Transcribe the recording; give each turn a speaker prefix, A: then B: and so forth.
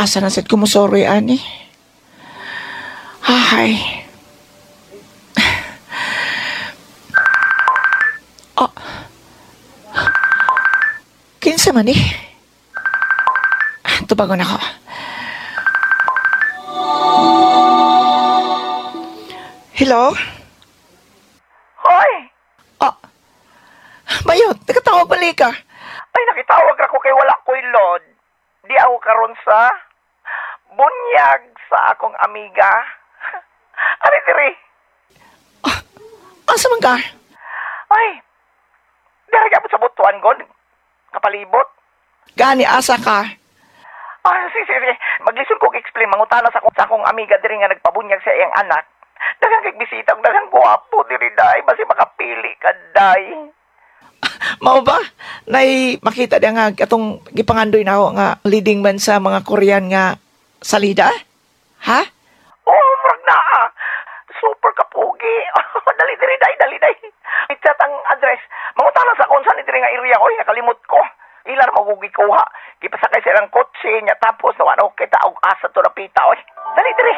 A: Asa na sad ko mo sorry, ani? Ay. Oh. Kinsa man eh? Tubagon ako. Hello?
B: Hoy!
A: Oh. Bayot, nakatawag balik ka.
B: Ay, nakitawag ra ko kay wala ko'y load. Di ako karon sa bunyag sa akong amiga. Ari diri.
A: Asa man ka?
B: Ay, diri ka sa butuan ko. Kapalibot.
A: Gani, asa ka?
B: Ay, sige, sige, sige. Maglisod ko explain. Mangutana sa akong amiga diri nga nagpabunyag sa iyang anak. Daghang kay bisita ug daghang gwapo diri day. Basi makapili ka day.
A: Mao ba? Nay makita dia nga atong gipangandoy na ako nga leading man sa mga Korean nga salida? Ha?
B: Oh, murag na ah. Super kapugi. Dali diri day, dali day. I-chat ang address. Mangutana sa kung saan diri nga area. Oy, nakalimot ko. Ilar magugi kuha. Gipasakay sa ilang kotse niya tapos nawa na kita og asa to napita oy. Dali diri.